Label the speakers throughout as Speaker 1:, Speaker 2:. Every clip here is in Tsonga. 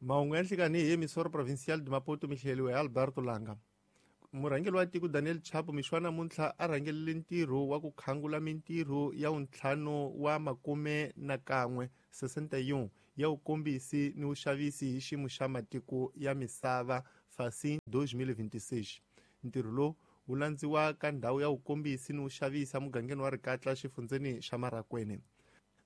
Speaker 1: Mahungu ya nhlikani hi Emissora Provincial de Maputo mi hleliwe hi Alberto Langa. Murhangeri wa tiko Daniel Chapo mixo wa namuntlha a rhangelele ntirho wa ku khangula mintirho ya wuntlhanu wa makume na kan'we 61 ya vukombisi ni vuxavisi hi xiyimo xa matiko ya misava Facim 2026. Ntirho lowu wu landziwa ka ndhawu ya vukombisi ni vuxavisi emugangeni wa Rikatla xifundzeni xa Marakwene.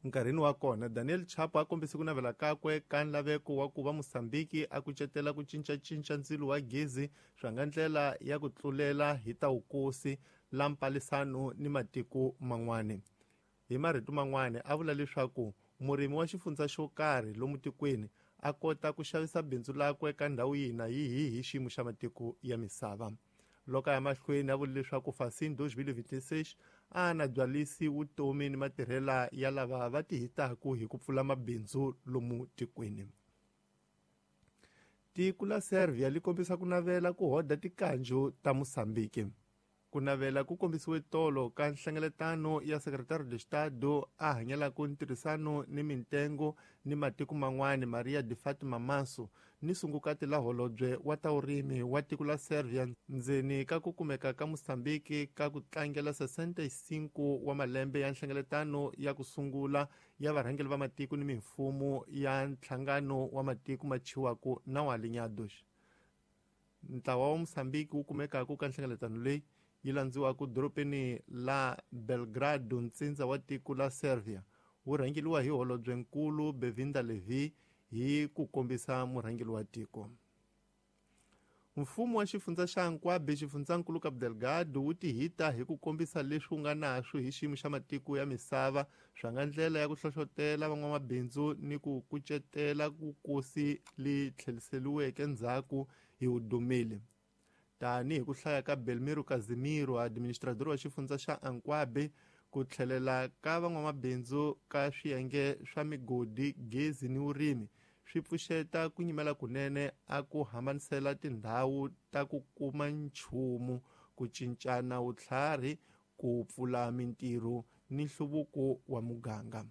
Speaker 1: Nkarhini wa kona, Daniel Chapo a kombise ku navela kakwe ka nlaveko wa ku va Mosambiki a kucetela ku cincacinca ndzilo wa gezi swa nga ndlela ya ku tlulela hi ta vukosi la mpalisano ni matiko man'wana. Hi marito man'wana, a vula leswaku murimi wa xifundza xo karhi lomu tikweni a kota ku xavisa bindzu lakwe ka ndhawu yihi na yihi hi xiyimo xa matiko ya misava. Loko a ya mahlweni a vula leswaku Facim 2026 a na byalisi vutomi ni matirhela ya lava va tihitaku hi ku pfula mabindzu lomu tikweni. Tiko la Serbia li kombisa ku navela ku hoda tikanju ta Mosambiki. Ku navela ku kombisiwe tolo ka nhlengeletano ya Secretario de Estado a hanyelaka ntirhisano ni mintengo ni matiko man'wana Maria de Fatima Manso ni sungukati la holobye wa ta vurimi wa tiko la Serbia ndzeni ka ku kumeka ka Mosambiki ka ku tlangela 65 wa malembe ya nhlengeletano ya ku sungula ya varhangeri va matiko ni mimfumo ya nhlangano wa matiko ma chiwaku na wa Alinhados. Ntlawa wa Mosambiki wu kumekaka ka nhlengeletano leyi yi landziwaka dorobeni la Belgrado ntsindza wa tiko la Serbia wu rhangeriwa hi holobyenkulu Bevinda Levi hi ku kombisa murhangeri wa tiko. Mfumo wa xifundza xa Nkwabe xifundzankulu Cabo Delgado wu tihita hi ku kombisa leswi wu nga naswo hi xiyimo xa matiko ya misava swa nga ndlela ya ku hlohlotela van'wamabindzu ni ku kucetela vukosi li tlheriseriweke ndzhaku hi vudumeli. Tanihi ku hlaya ka Belmiro Casimiro, administrador wa xifundza xa Ankwabe, ku tlhelela ka van'wamabindzu ka swiyenge swa migodi, gezi ni vurimi swi pfuxeta ku nyimela kunene a ku hambanisela tindhawu ta ku kuma nchumu, ku cincana vutlhari, ku pfula mintirho ni nhluvuko wa muganga.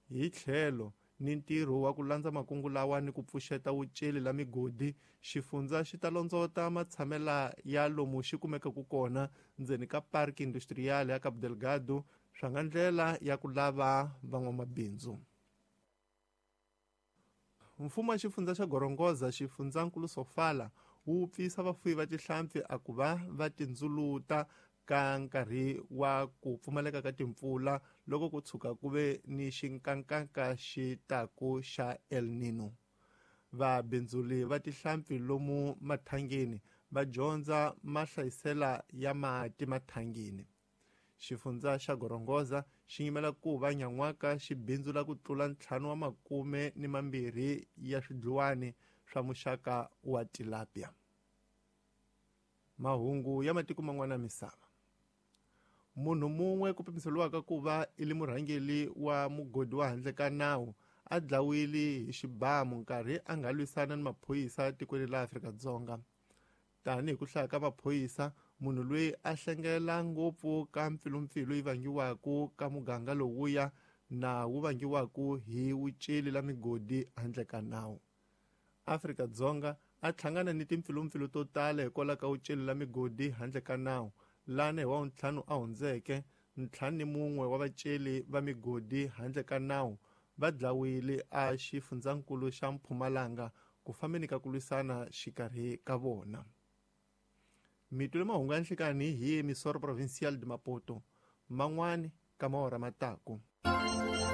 Speaker 1: Hi tlhelo ni ntirho wa ku landza makungu lawa ni ku pfuxeta vuceli la migodi, xifundza xi ta londzota matshamela ya lomu xi kumekaka kona ndzeni ka Parque Industrial ya Cabo Delgado swa nga ndlela ya ku lava van'wamabindzu. Mfumo wa xifundza xa Gorongosa xifundzankulu Sofala wu pfisa vafuwi va tihlampfi a ku va va tindzuluta ka nkarhi wa ku pfumaleka ka timpfula loko ku tshuka ku ve ni xinkankanka xi taku xa El Nino. Vabindzuli va tihlampfi lomu mathangeni va dyondza mahlayisela ya mati mathangeni. Xifundza xa Gorongosa xi yimela ku va nyan'waka xi bindzula ku tlula 5 ni 2 ya swidluwani swa muxaka wa tilapia. Mahungu ya matiko man'wana ya misava. Munhu mun'we ku pimiseriwaka ku va i li murhangeri wa mugodi wa handle ka nawu a dlawile hi xibamu nkarhi a nga lwisana ni maphorisa tikweni la Afrika-Dzonga. Tanihi ku hlaya ka maphorisa, munhu loyi a hlengela ngopfu ka mpfilumpfilu yi vangiwaka ka muganga lowuya na wu vangiwaka hi vuceli la migodi handle ka nawu. Afrika-Dzonga a hlangana ni timpfilumpfilu to tala hikwalaho ka vuceli la migodi handle ka nawu lana hi wa ntlhanu a hundzeke 51 wa vaceli va migodi handle ka nawu va dlawile a xifundzankulu xa Mpumalanga ku fambeni ka ku lwisana xikarhi ka vona. Mitwile mahungu ya nhlikani hi Emissora Provincial de Maputo man'wani ka maora mataku.